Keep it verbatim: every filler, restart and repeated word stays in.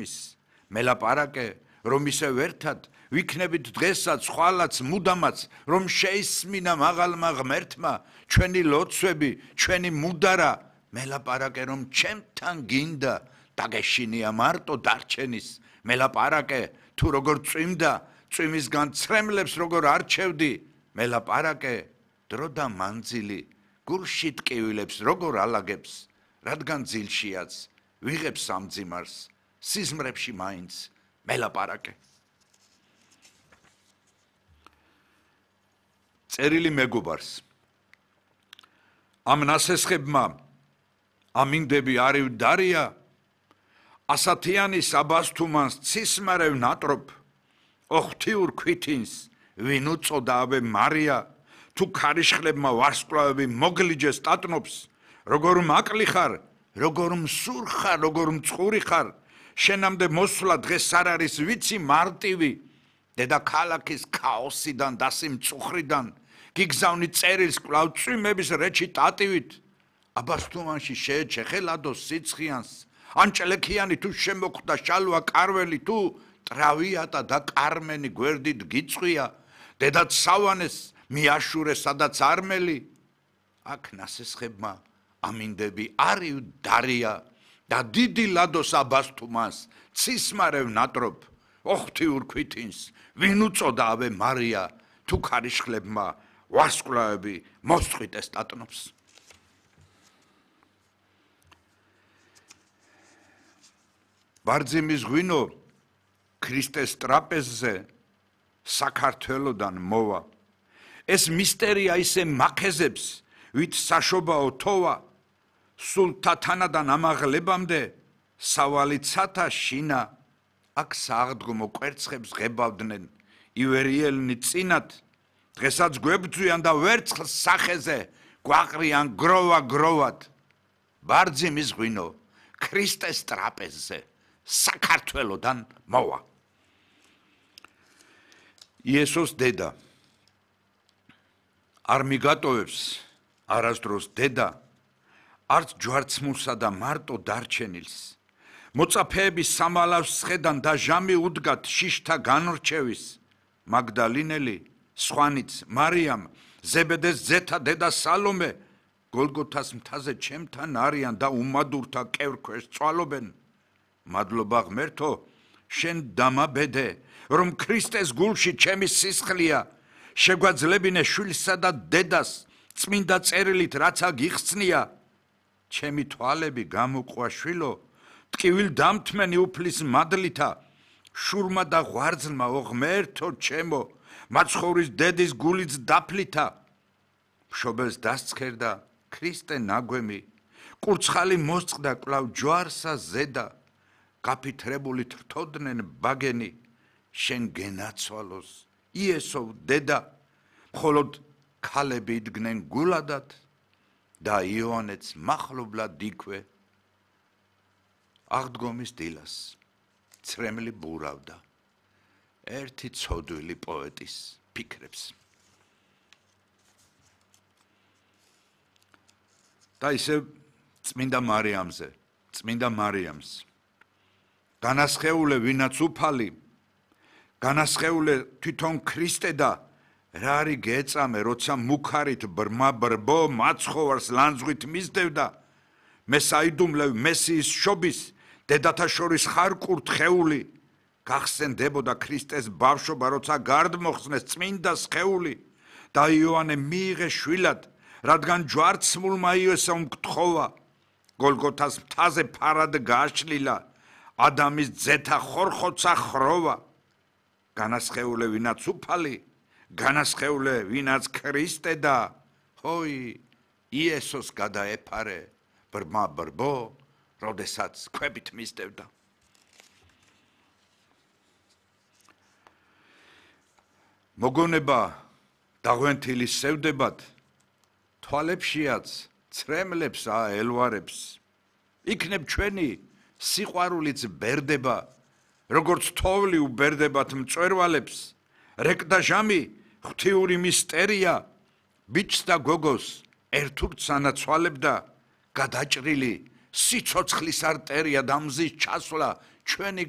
გასმის მელაპარაკე რომ ისევ ერთად ვიქნებით დღესაც ხვალაც მუდამაც რომ შეისმინა მაღალმა ღმერთმა ჩვენი ლოცვები ჩვენი მუდარა მელაპარაკე რომ ჩემთან გინდა დაგეშინია მარტო დარჩენის მელაპარაკე თუ როგორ წვიმდა წვიმისგან ცრემლებს როგორ არჩევდი მელაპარაკე დრო და მანძილი გულში ტკივილებს როგორ ალაგებს რადგან ძილშიაც ვიღებს ამ ძიმარს სიზმრებში მაინც მელაპარაკე წერილი მეგობარს ამ ნასესხებმა ამინდები არივ დარია ასათიანი საბასთუმანს ცისმარევ ნატრობ ოხთიურ ქვითინს ვინ უწოდა აბე მარია თუ ქარიშხლებმა ვარსკვლავები მოგლიჯეს ტატნობს როგორ მაკლი ხარ როგორ მსურ ხარ როგორ მწყური ხარ შენამდე მოსვლა დღეს არ არის ვიცი მარტივი დედა ქალაქის ქაოსიდან დასიმწუხრიდან გიგზავნი წერილს კვლავ წვიმების რეჩი ტატივით აბასთუმანში შეეჩეხელადო სიცხიანს ანჭლექიანი თუ შემოხვდა შალვა კარველი თუ ტრავიატა და კარმენი გვერდით გიწვია დედაც სავანეს მიაშურე სადაც არმელი აქ ნასესხებმა ამინდები არივ დარია და დიდი ლადოს აბასთუმანს ცისმარევ ნატრობ ოხთიურ ქვითინს ვინ უწოდა აბე მარია თუ ქარიშხლებმა ვარსკვლავები მოსწყვიტეს ტატნობს ბარძიმის ღვინო ქრისტეს ტრაპეზზე საქართველოდან მოვა ეს მისტერია ისე მახეზებს ვით საშობაო თოვა სულ თათანადან ამაღლებამდე სავალი ცათა შინა აქ სააღდგომო კვერცხებს ღებავდნენ ივერიელნი წინათ დღესაც გვებძვიან და ვერცხლს სახეზე გვაყრიან გროვა გროვად ბარძიმის ღვინო ქრისტეს ტრაპეზზე საქართველოდან მოვა იესოს დედა არ მიგატოვებს არასდროს დედა არც ჯვარცმულსა და მარტო დარჩენილს მოწაფეების სამალავს სხედან და ჟამი უდგათ შიშთა განრჩევის მაგდალინელი სხვანიც მარიამ ზებედეს ზეთა დედა სალომე გოლგოთას მთაზე ჩემთან არიან და უმადურთა კევრქვეშ წვალობენ მადლობა ღმერთო შენ დამაბედე რომ ქრისტეს გულში ჩემი სისხლია შეგვაძლებინე შვილსა და დედას წმინდა წერილით რაცა გიხსნია ჩემი თვალები გამოყვა შვილო ტკივილ დამთმენი უფლის მადლითა შურმა და ღვარძლმა ო ღმერთო ჩემო მაცხოვრის დედის გულიც დაფლითა მშობელს დასცქერდა ქრისტე ნაგვემი კურცხალი მოსწყდა კვლავ ჯვარსა ზედა გაფითრებული თრთოდნენ ბაგენი შენ გენაცვალოს იესო დედა მხოლოდ ქალები იდგნენ გულადად და იოანეც მახლობლად იქვე აღდგომის დილას ცრემლი ბურავდა ერთი ცოდვილი პოეტის ფიქრებს და ისე წმინდა მარიამზე წმინდა მარიამს განასხეულე ვინაც უფალი განასხეულე თვითონ ქრისტე და რა არის გეწამე როცა მუქარით ბრმა ბრბო მაცხოვარს ლანძღვით მისდევდა მე საიდუმლევ მესიის შობის დედათა შორის ხარ კურთხეული გახსენდებოდა ქრისტეს ბავშვობა როცა გარდმოხსნეს წმინდა სხეული და იოანე მიიღე შვილად რადგან ჯვარცმულმა იესომ გთხოვა გოლგოთას მთაზე ფარად გააშლილა ადამის ძეთა ხორხოცა ხროვა განასხეულე ვინაც უფალი განასხეულე ვინაც ქრისტე და ჰოი იესოს გადაეფარე ბრმა ბრბო როდესაც ქვებით მისდევდა მოგონება დაღვენთილი სევდებად თვალებშიაც ცრემლებს აელვარებს იქნებ ჩვენი სიყვარულიც ბერდება როგორც თოვლი უბერდებათ მწვერვალებს რეკდა ჟამი ღვთიური მისტერია ბიჭს და გოგოს ერთურთ სანაცვალებდა გადაჭრილი სიცოცხლის არტერია და მზის ჩასვლა ჩვენი